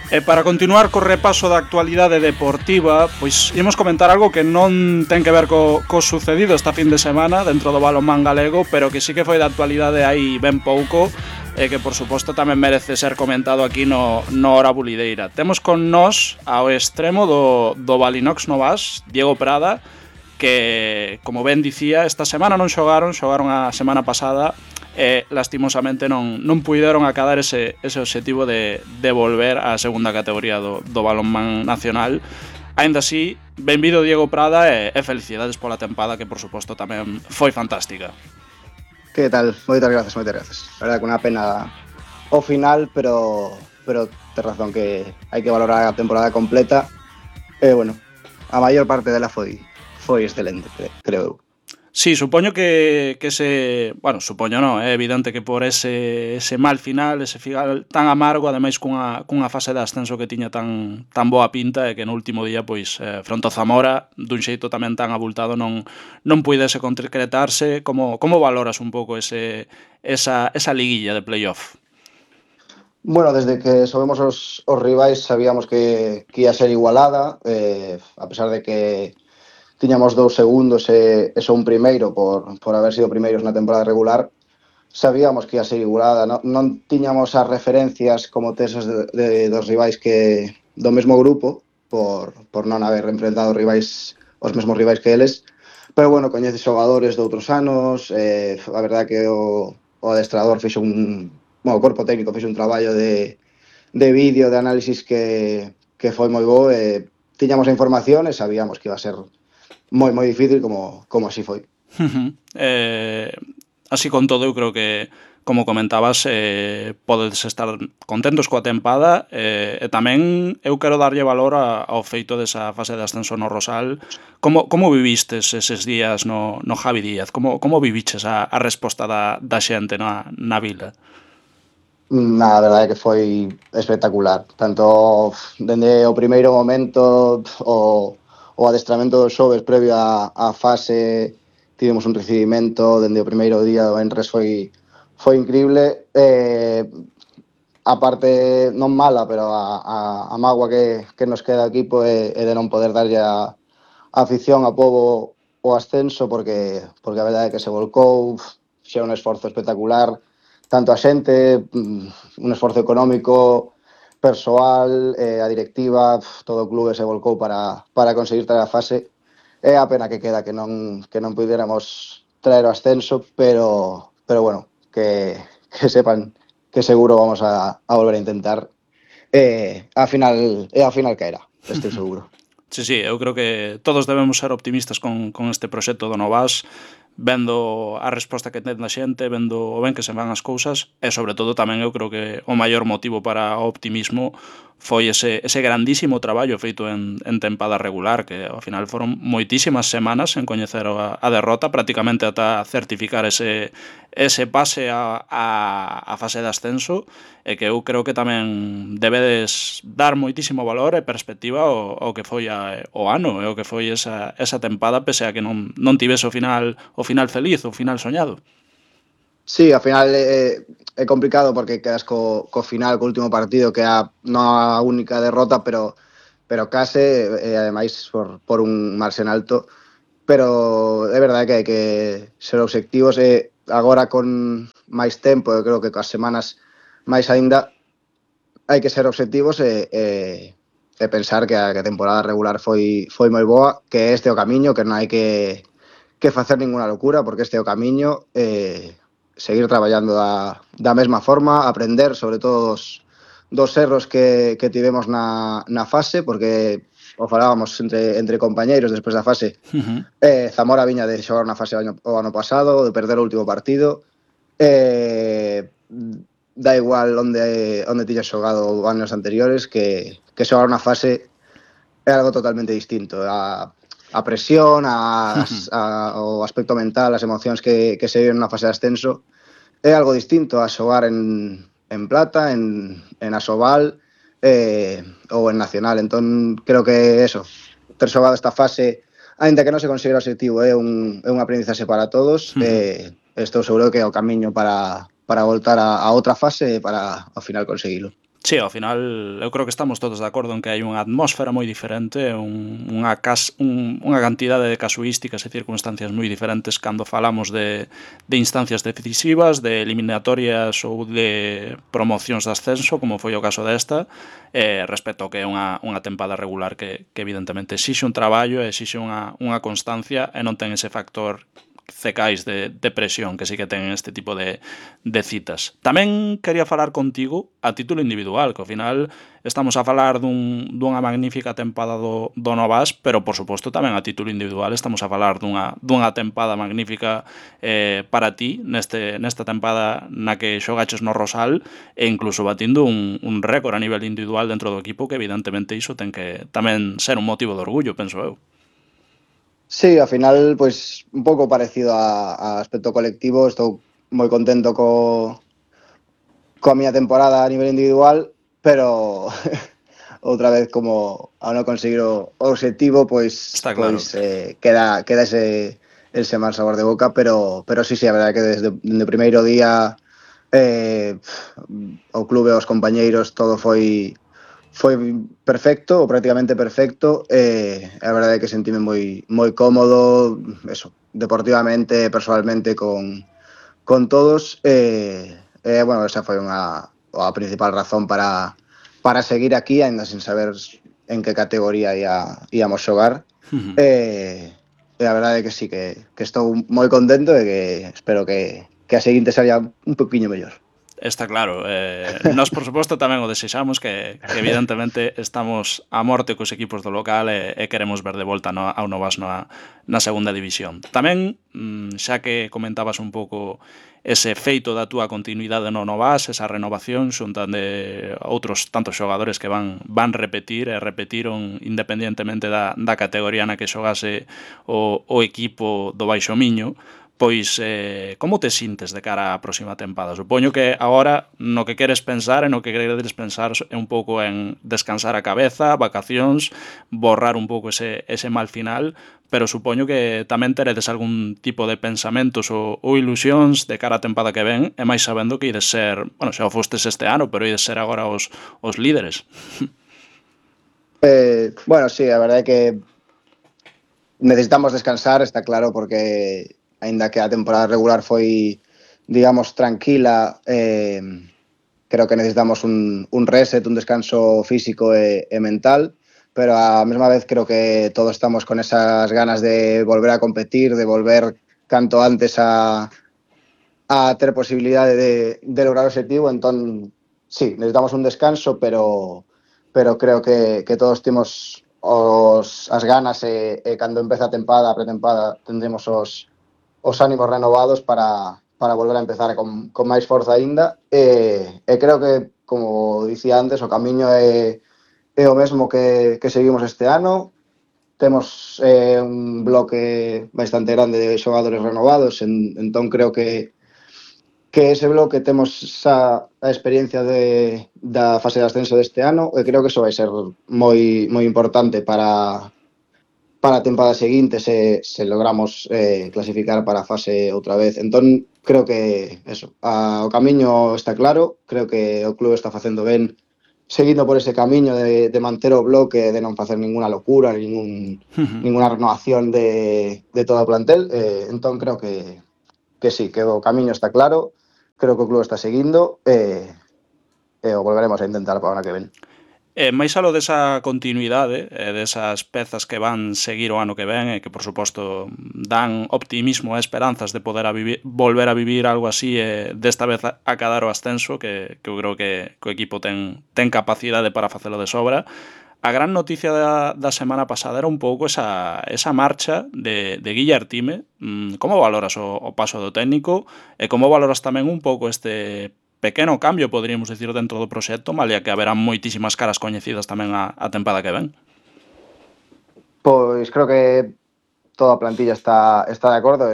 E para continuar co repaso da actualidade deportiva, pois imos comentar algo que non ten que ver co sucedido esta fin de semana dentro do balonmán galego, pero que sí que foi da actualidade hai ben pouco e que por suposto tamén merece ser comentado aquí no Hora Bulideira. Temos con nós ao extremo do Balinox Novas, Diego Prada, que, como ben dicía, esta semana non xogaron a semana pasada e lastimosamente non puideron acadar ese obxectivo de volver á segunda categoría do balonmán nacional. Aínda así, benvido Diego Prada e felicidades pola tempada que por suposto tamén foi fantástica. Que tal? Moitas grazas. A verdade que unha pena o final, pero tes razón que hai que valorar a temporada completa. E bueno, a maior parte dela foi excelente, creo eu. Sí, supoño que ese... Bueno, supoño non, é evidente que por ese mal final, ese final tan amargo, ademais cunha fase de ascenso que tiña tan boa pinta e que no último día, pois, fronte ao Zamora, dun xeito tamén tan abultado, non puidese concretarse. Como valoras un pouco esa liguilla de playoff? Bueno, desde que sobemos os rivais sabíamos que ia ser igualada, a pesar de que tiñamos 2 segundos e só un primeiro por haber sido primeiros na temporada regular, sabíamos que ia ser igualada, non tiñamos as referencias como teses dos rivais que do mesmo grupo, por non haber enfrentado os mesmos rivais que eles, pero bueno, coñeces xogadores de outros anos, a verdade que o adestrador fixo o corpo técnico fixo un traballo de vídeo, de análisis que foi moi bo, e tiñamos a información e sabíamos que iba a ser moi difícil como así foi. Así con todo, eu creo que, como comentabas, podes estar contentos coa tempada, e tamén eu quero darlle valor ao feito desa fase de ascenso no Rosal. Como vivistes eses días no Javi Díaz? Como viviches a resposta da xente na vila? A verdade é que foi espectacular, tanto dende o primeiro momento, o adestramento dos xoves previo á fase, tivemos un recibimento dende o primeiro día do Enres, foi increíble. A parte non mala, pero a mágoa que nos queda aquí é de non poder darlle a afición, a pobo, o ascenso, porque a verdade é que se volcou, xa un esforzo espectacular, tanto a xente, un esforzo económico, persoal, a directiva, todo o clube se volcou para conseguir traer a fase. É a pena que queda que non puidéramos traer o ascenso, pero bueno, que sepan que seguro vamos a volver a intentar. A final caerá, estou seguro. Sí, eu creo que todos debemos ser optimistas con este proxecto do Novas, vendo a resposta que ten da xente, vendo o ben que se van as cousas, e sobre todo tamén eu creo que o maior motivo para o optimismo foi ese grandísimo traballo feito en tempada regular, que ao final foron moitísimas semanas en coñecer a derrota, prácticamente ata certificar ese pase a fase de ascenso, e que eu creo que tamén debedes dar moitísimo valor e perspectiva ao que foi o ano e o que foi esa tempada, pese a que non tivese o final feliz, o final soñado. Sí, ao final é complicado porque quedas co final, co último partido, que non a única derrota, pero case, ademais por un marxen alto, pero é verdade que hai que ser obxectivos, e agora con máis tempo, eu creo que coas semanas máis aínda, hai que ser obxectivos e pensar que a temporada regular foi moi boa, que este é o camiño, que non hai que facer ninguna locura, porque este é o camiño, seguir traballando da mesma forma, aprender sobre todo dos erros que tivemos na fase, porque o falábamos entre compañeiros despois da fase. Zamora viña de xogar unha fase o ano pasado, de perder o último partido, da igual onde tiñas xogado anos anteriores, que xogar unha fase é algo totalmente distinto. A presión, o aspecto mental, as emocións que se viven na fase de ascenso, é algo distinto a xogar en Plata, en Asobal ou en Nacional. Entón, creo que eso, ter xogado esta fase, aínda que non se considera o objetivo, é un aprendizaxe para todos. Estou seguro que é o camiño para voltar a outra fase e para ao final conseguilo. Sí, ao final eu creo que estamos todos de acordo en que hai unha atmósfera moi diferente, unha cantidade de casuísticas e circunstancias moi diferentes cando falamos de instancias decisivas, de eliminatorias ou de promocións de ascenso, como foi o caso desta, respecto ao que é unha tempada regular que evidentemente exixe un traballo, exixe unha constancia e non ten ese factor cecais de presión que sí que ten este tipo de citas. Tamén quería falar contigo a título individual, que ao final estamos a falar dunha magnífica tempada do Novas, pero por suposto tamén a título individual estamos a falar dunha tempada magnífica para ti nesta tempada na que xogaches no Rosal e incluso batindo un récord a nivel individual dentro do equipo, que evidentemente iso ten que tamén ser un motivo de orgullo, penso eu. Sí, al final, pues un pouco parecido a aspecto colectivo. Estou moi contento coa miña temporada a nivel individual, pero outra vez, como ao non conseguir o obxectivo, Está claro. queda ese mal sabor de boca, pero sí, a verdade é que desde o primeiro día o clube, os compañeiros, todo foi perfecto, ou prácticamente perfecto. A verdade é que sentime moi cómodo, eso, deportivamente, personalmente, con todos. Bueno, esa foi a principal razón para seguir aquí, ainda sin saber en que categoría íamos xogar. A verdade é que sí, que estou moi contento e que espero que a seguinte sería un poquinho mellor. Está claro, nós por suposto tamén o desexamos, que evidentemente estamos a morte cos equipos do local e queremos ver de volta ao Novas na segunda división. Tamén, xa que comentabas un pouco ese feito da túa continuidade no Novas, esa renovación xuntan de outros tantos xogadores que van repetir e repetiron independientemente da categoría na que xogase o equipo do Baixo Miño. Pois, como te sintes de cara á próxima tempada? Supoño que agora no que queres pensar e no que queredes pensar é un pouco en descansar a cabeza, vacacións, borrar un pouco ese mal final, pero supoño que tamén teredes algún tipo de pensamentos ou ilusións de cara á tempada que ven, e máis sabendo que ides ser, bueno, xa o fostes este ano, pero ides ser agora os líderes. Bueno, sí, a verdade é que necesitamos descansar, está claro, porque aínda que a temporada regular foi, digamos, tranquila, creo que necesitamos un reset, un descanso físico e mental, pero á mesma vez creo que todos estamos con esas ganas de volver a competir, de volver canto antes a ter posibilidade de lograr o objetivo. Entón, sí, necesitamos un descanso, pero creo que todos temos as ganas e cando empeza a pretempada, tendremos os ánimos renovados para volver a empezar con máis forza aínda. E creo que, como dicía antes, o camiño é o mesmo que seguimos este ano. Temos un bloque bastante grande de xogadores renovados, entón creo que ese bloque temos xa a experiencia da fase de ascenso deste ano, e creo que iso vai ser moi importante para a tempada seguinte se logramos clasificar para a fase outra vez. Entón, creo que eso, o camiño está claro, creo que o clube está facendo ben seguindo por ese camiño de manter o bloque, de non facer ninguna locura, ninguna renovación de todo o plantel. Entón, creo que sí, que o camiño está claro, creo que o clube está seguindo e o volveremos a intentar para o ano que ven. Máis alo desa continuidade e desas pezas que van seguir o ano que ven e que, por suposto, dan optimismo e esperanzas de poder volver a vivir algo así, desta vez acadar o ascenso, que eu creo que o equipo ten capacidade para facelo de sobra. A gran noticia da semana pasada era un pouco esa marcha de Guille Artime. Como valoras o paso do técnico e como valoras tamén un pouco este pequeno cambio, poderíamos dicir, dentro do proxecto, malia que haberán moitísimas caras coñecidas tamén a tempada que ven? Pois creo que toda a plantilla está de acordo.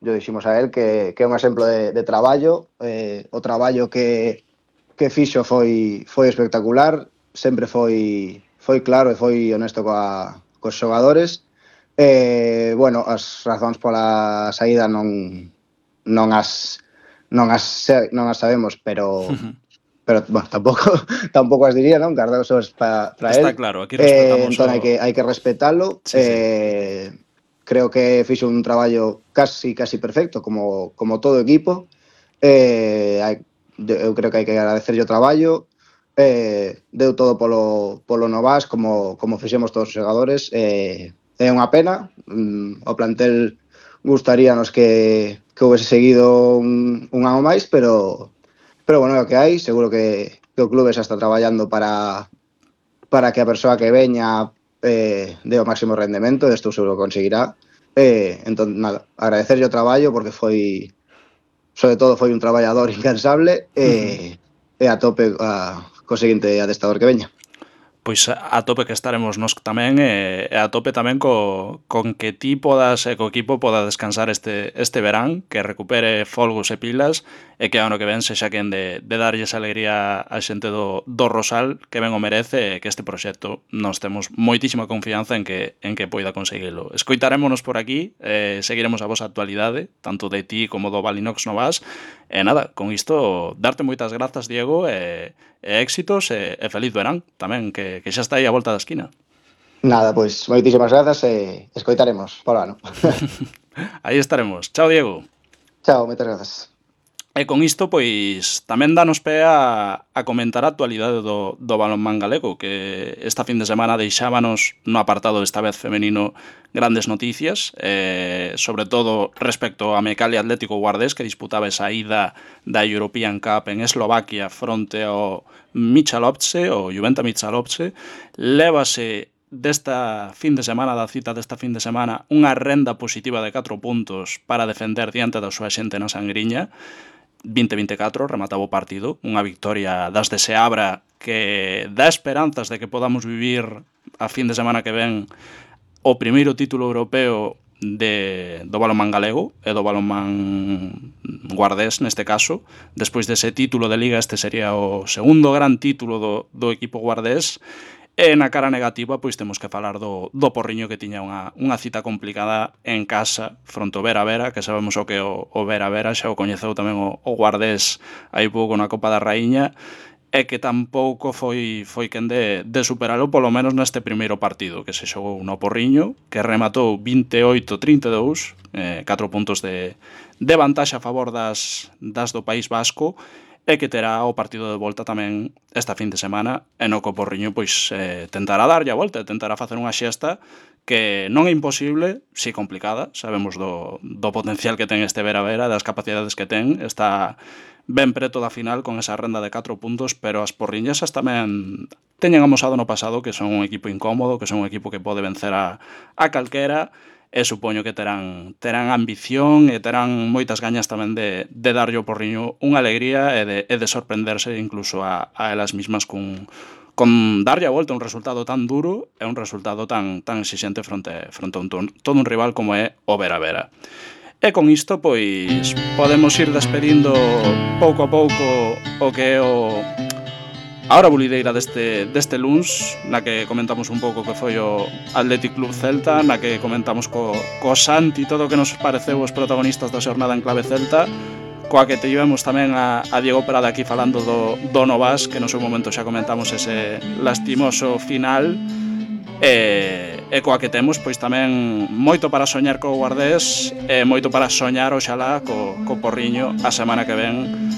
Yo diximos a él que é un exemplo de traballo. O traballo que fixo foi espectacular, sempre foi claro e foi honesto cos xogadores. Bueno, as razóns pola saída non as sabemos, pero pero bueno, tampouco as diría, non? Guardar os sobres para Está él. claro, aquí respetamos Entón hai que respetalo. Sí, sí. Creo que fixo un traballo casi perfecto, como todo equipo. Eu creo que hai que agradecerlle o traballo. Deu todo polo Novas, como fixemos todos os xogadores. É unha pena. O plantel gustaríanos que houvese seguido un ano máis, pero bueno, é o que hai. Seguro que o clube xa está traballando para que a persoa que veña dé o máximo rendemento, e isto seguro que conseguirá. Entón, nada, agradecerlle o traballo, porque sobre todo foi un traballador incansable, e a tope co seguinte adestador que veña. Pois a tope que estaremos nós tamén, e a tope tamén con que ti podas e co equipo poda descansar este verán, que recupere folgos e pilas, e que ano que ven sexa quen de darlle esa alegría á xente do Rosal, que ben o merece, e que este proxecto nos temos moitísima confianza en que poida conseguilo. Escoitarémonos por aquí, seguiremos a vosa actualidade, tanto de ti como do Valinox Novas, e nada, con isto, darte moitas grazas, Diego, e éxitos e feliz verán tamén, que xa está aí a volta da esquina. Nada, pois moitísimas grazas e escoitaremos polo ano. Aí estaremos. Chao, Diego. Chao, moitas grazas. E con isto, pois, tamén danos pé a comentar a actualidade do balonmán galego, que esta fin de semana deixábanos no apartado esta vez femenino grandes noticias, sobre todo respecto a Mecalia Atlético Guardés, que disputaba esa ida da European Cup en Eslovaquia fronte ao Michalovce, o Juventa Michalovce. Lévase desta fin de semana, da cita desta fin de semana, unha renda positiva de 4 puntos para defender diante da súa xente na Sangriña. 20-24, remataba o partido, unha victoria das de Seabra que dá esperanzas de que podamos vivir a fin de semana que ven o primeiro título europeo do balonmán galego e do balonmán guardés neste caso. Despois dese título de Liga, este sería o segundo gran título do equipo guardés. E na cara negativa, pois temos que falar do Porriño, que tiña unha cita complicada en casa fronte ao Vera, que sabemos o que o Vera, xa o coñeceu tamén o Guardés aí pouco na Copa da Raíña, e que tampouco foi quen de superalo, polo menos neste primeiro partido que se xogou no Porriño, que rematou 28-32, 4 puntos de vantaxe a favor das do País Vasco, e que terá o partido de volta tamén esta fin de semana, e no co Porriño pois tentará darlle a volta, tentará facer unha xesta que non é imposible, si complicada. Sabemos do potencial que ten este Vera, das capacidades que ten, está ben preto da final con esa renda de 4 puntos, pero as porriñesas tamén teñen amosado no pasado que son un equipo incómodo, que son un equipo que pode vencer a calquera, e supoño que terán ambición e terán moitas gañas tamén de darlle ao Porriño unha alegría e de sorprenderse incluso a elas mismas con darlle a volta un resultado tan duro e un resultado tan exixente fronte a todo un rival como é o Vera. E con isto, pois, podemos ir despedindo pouco a pouco o que é a hora bulideira deste luns, na que comentamos un pouco que foi o Athletic Club Celta, na que comentamos co Santi todo o que nos pareceu os protagonistas da xornada en clave celta, coa que tivemos tamén a Diego Prada aquí falando do Novas, que no seu momento xa comentamos ese lastimoso final, e coa que temos pois tamén moito para soñar co Guardés e moito para soñar oxalá co Porriño a semana que ven